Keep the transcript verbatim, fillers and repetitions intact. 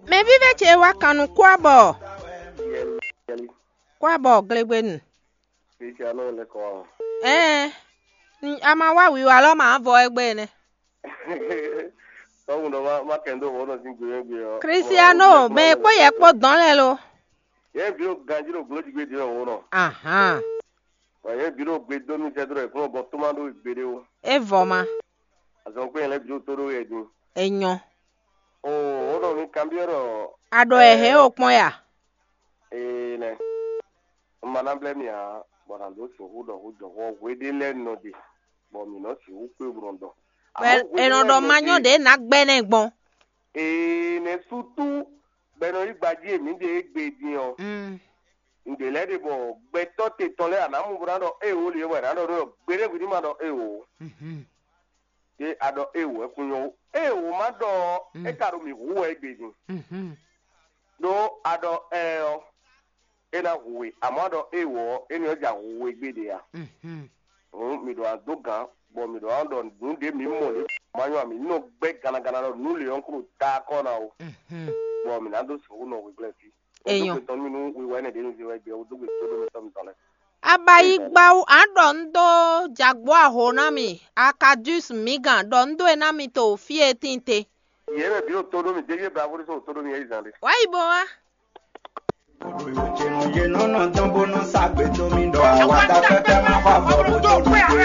Mɛ vívɛ́ ce wá kan nú kwábɔ. Kwábɔ glégbénu. Ɛɛ, a ma wá wiwa lɔ ma vɔ égbé nɛ. Tɔ́hun ɖɔ má má kɛn dó wǒ nɔ sín gbe gbe ɔ́. Kristiano, mɛ kpó yɛ kpó dɔn lɛ lo. Yɛ ví ɖo ganjí ɖo glójigbé din wǒ nɔ. Ahan. Wɔ yɛ ví ɖo gbe dó nú sɛdrɔ ìkúnlɔ bɔ tó má ɖó gbeɖé o. E vɔ ma. Azɔn kpé yɛn lɛ ví ɖo tó ɖó yɛ din. Enyɔ. O wǒ nɔ mi kanbyɔ́ ɖɔ. A ɖɔ ɛ hɛn o kpɔn ya. Ee nɛ. Un ma ná blɛ́ mi ǎ, bɔ nǎ dó sixú ɖɔ hú jɔhɔn hweɖé lɛ́ɛ nɔ ɖe, bɔ mǐ nɔ sixú kpé bó nɔ ɖɔ. Bɔ è nɔ ɖɔ ma nyɔ́ ɖě ná gbɛ́ nɛ́ gbɔn. Ee nɛ sútú bɔ è nɔ yí gbají e mǐ ɖe égbé din ɔ́. Un ɖě lɛ́ɛ ɖe bɔ gbɛtɔ́ te tɔn lɛ́ɛ a nǎ mɔ bó ná ɖɔ éewo lě wɛ è nǎ ɖɔ ɖó gbeɖé hwi ní ma ɖɔ éewo. Ɖé a ɖɔ éewo wɛ kún nyɔ́ ó. Éewo ma ɖɔ ɔ́, é ka ɖo mǐ hu wɛ égbé din. Ɖó a ɖɔ ɛ ɔ́, é ná hu we, amɔ̌ a ɖɔ éewo ɔ́, énɛ́ ɔ́ ja hu we gbé ɖe ǎ. Hǔn mǐ ɖo adó gǎn, bɔ mǐ ɖo ná ɖɔ nǔ ɖé mǐ mɔ lě ma nyɔ́ ǎ, mǐ nɔ gbɛ́ gannaganna ɖɔ nǔ lě ɔ́ kúɖo ta akɔ́ ná ó, bɔ mǐ ná dó sixú nɔ hweglɛ́ fí. Enyɔ. Dó gbe tɔn nú mì nú wiwa énɛ́ ɖě un zé wɛ gbé, dó gbe tó ɖó mi tɔn mitɔn lɛ́ɛ. Abayigba wú, a ɖɔ un dó jagbo aho ná mi, Akadus mi gán ɖɔ un dó e ná mi to fí e tín te. Yě mɛ bǐ ɖo tó ɖó mì, dégé bravo ɖé sɔ́ wò tó ɖó mì yɛ yi zan ɖé. Wá yi bɔ wá. Yě nɔ nɔ dɔn bó nɔ sa gbé dó mi ɖɔ àwa ta pɛpɛ má xɔ avɔ bó tó ɖu gbé.